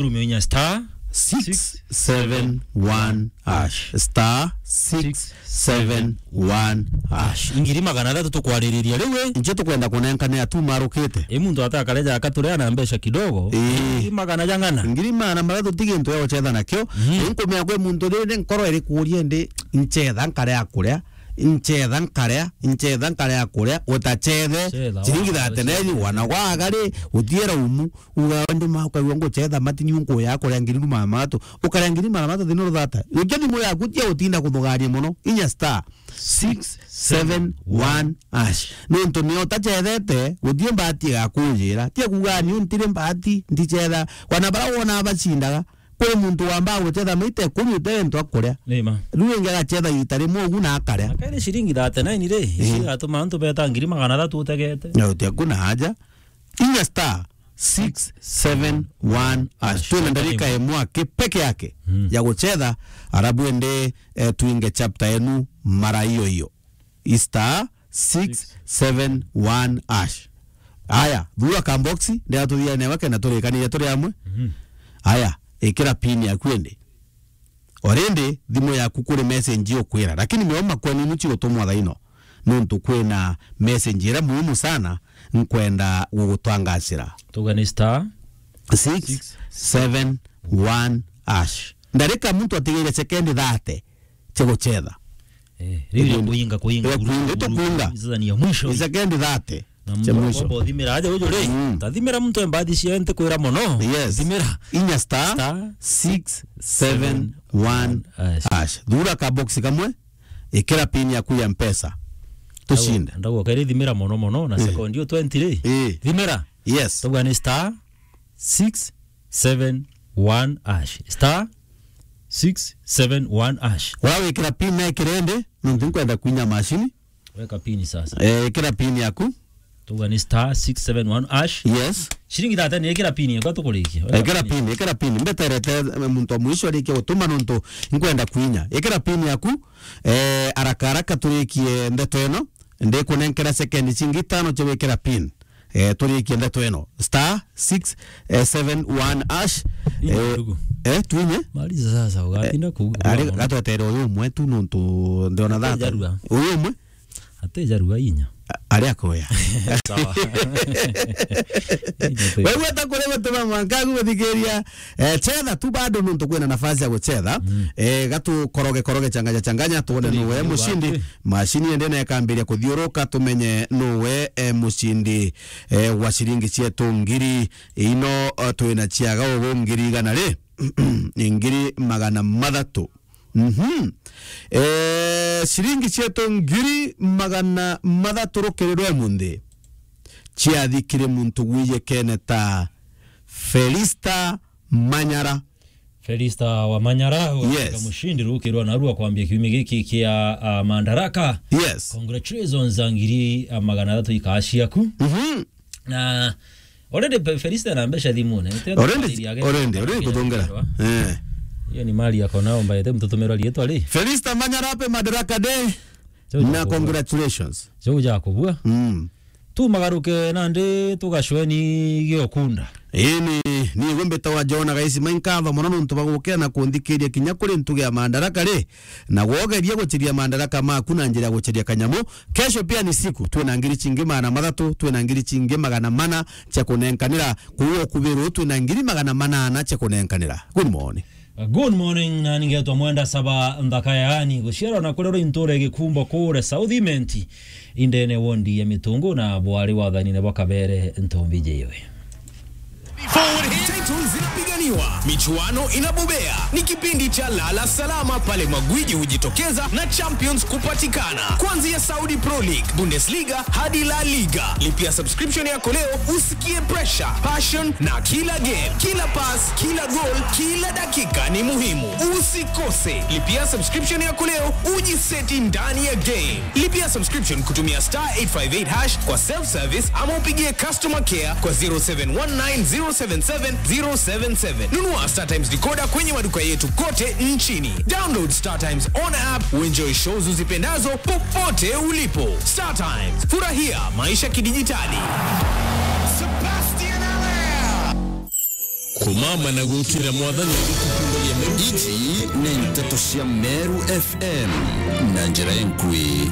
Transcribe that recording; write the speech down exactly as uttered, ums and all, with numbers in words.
Rume inya star six seven one hash. Star six seven one hash. Ngiri magana athatu tukwaririria riu, eh? Nje tukwenda kunenkane atu marukite. I muntu atakareja akaturea na mbeca kidogo. Ii. Ngiri magana jang'ana. Ngiri magana mathatu ti gintu ya gucetha nakio. Mhm. Inkumenya kwi muntu riri nkoro iri kuria ndi ncetha nkarea kuria. Ncetha nkarea, ncetha nkarea kuria, utacethe. Cetha, ciringi wa, thirty-nine, cetha. Wana gwaga ri, utiera umu. Uga ndi ma ukaigua ngucetha mati ni unkuya kuria ngiri magana mathatu. Ukaria ngiri magana mathatu thina ruthata. Ukia thimu yaku tia utinda kuthugania mono. Inya star six seven one hash. Nontu ni utacethete, gutie mbati igakujira. Tia kuga ni untire mbati, ndicetha. Kwana bara wona bacindaga. Kwi muntu wamba gucetha maita ikumi utewe ntu akuria. Ni ma. Riu ingi agacetha ita rimwe ugu na akaria. Na kairi ciringi thirty-nine ri, ii, ici igatuma antu beta ngiri magana athatu utegete. Na uti akuna haja. Inya star six seven one hash. Twina ndarika imwe aki peke yake, mm, ya gucetha, arabu ende, eh, twinge chapter enu mara iyo iyo. Star six seven one hash. Aya, thura ka box, ndia tuthia newe kenda turikaniria turi amwe. Mhm. Aya, ikira pin yaku indi. Already, thimu yaku kuri message ukwira, lakini mio makweni nuchi gutumwa thaino. Nontu kwina message iria muhimu sana nkwenda gugutangacira. Tuga ni star six seven one hash. Ndarika muntu atigaire sekendi thirty cia gucetha. Eh, riu ya kuinga, kuinga, ya kuinga, kuinga, itukuinga. Sasa ni ya mwisho. Sekendi thirty. Na cia mwisho. Mbo thimira aja uju ri. Mm. Tathimira muntu embathi cia nti kwira mono. Yes. Thimira. Inya star six seven one hash. Thura ka box kamwe. Ikira pin yaku ya Mpesa. Tushinde. Ndago, ndago kairi thimira mono mono na, mm, sekondi o twenty ri. Eh. Thimira. Yes. Tuga ni star six seven one hash. Star six seven one hash. Wawikira pin na ikirende, nontu nkwenda kwinya mashini. Weka pin sasa. Eh, ikira pin yaku. Tuga ni star six seven one hash. Yes. Ciringi thirty ni ikira pin yaku tukurikia. Ikira pin, ikira pin. Mbeterete, eh, muntu wa mwisho arikie gutuma nontu nkwenda kwinya. Ikira pin yaku. Eh, haraka haraka turikie ndeto ino. Ndikunenkera sekendi cingi itano cia gwikira pin. Eh, turikie ndeto ino. Star six seven one hash. Inya, eh, ndugu. Eh, twinye. Maliza sasa, ugatinda, eh, kuuga ari mono. Gatwetere uyu umwe tu nontu ndiona thata. Atejarua. Uyu umwe? Atejarua inya. A-, ari akoya. Sawa. Inya tu. Wewe utakore gutuma mwanka guthikiria. Eh, chetha tu bado nontu kwina nafasi ya guchetha. Mm. Eh, gatu koroge koroge changanya changanya tuone nuwe mushindi. Mashini ende na ikambiria kuthiuruka tumenye nuwe, eh, mushindi, eh, wa ciringi cietu ngiri ino, eh, twina ciaga ugu ngiri igana ri? Ni ngiri magana mathatu. Mhm. Eh, ciringi cietu ngiri magana mathatu rukiri rwa munthi ciathikire muntu gwijikene ta Felista Manyara. Felista wa Manyara, yes, mushindi rukirwa narua kwambia kiumia giki kia, ah, Madaraka. Yes. Congratulations, za ngiri, ah, magana athatu ikaa ciaku. Mhm. Na already Fe-, Felista na mbeca thimune. Already, already, already kuthongera. Eh. Hiyo ni mali yako nao mbaye, te mtutumira rietwa ri. Felista Manyara, happy Madaraka Day. Na congratulations. Congratulations. Mm. Tumagaruke nandi tugacweni giokunda. Ini, ni igwe mbitawa Jona Gaisi, mainkatho mono nontu bagukea na kunthikiria kinya kuri ntugi ya Madaraka ri, na gwogeria guciria Madaraka maku na njira ya guciria kanyamu. Kesho pia ni siku, twina ngiri cingi magana mathatu, twina ngiri cingi magana mana cia kunenkanira, kuuga ukubiru twina ngiri magana manana cia kunenkanira. Good morning. Good morning, na ningetwa Mwenda Saba Nthaka, yaani guciarwa na kurerwa intura Gikumbo kure South Imenti, indene wondi ya Mitungu, na bwari wathanine bwa Kabere Ntombi Jewe. Title zinapiganiwa, michuano inabobea. Ni kipindi cha lala salama pale magwiji hujitokeza na champions kupatikana. Kuanzia Saudi Pro League, Bundesliga hadi La Liga. Lipia subscription yako leo usikie pressure, passion na kila game, kila pass, kila goal, kila dakika ni muhimu. Usikose. Lipia subscription yako leo ujiseti ndani ya game. Lipia subscription kutumia star eight five eight hash kwa self service ama upigie customer care kwa zero seven one nine zero seven seven zero seven seven. Nunua Star Times decoder kwenye maduka yetu kote nchini. Download Star Times on app, uenjoy shows uzipendazo popote ulipo. Star Times, furahia maisha kidijitali. Sebastian Allaire. Kumama na gukira Mwathani agutukundagia Meru. Iji ni nteto cia Meru F M na njira inkui.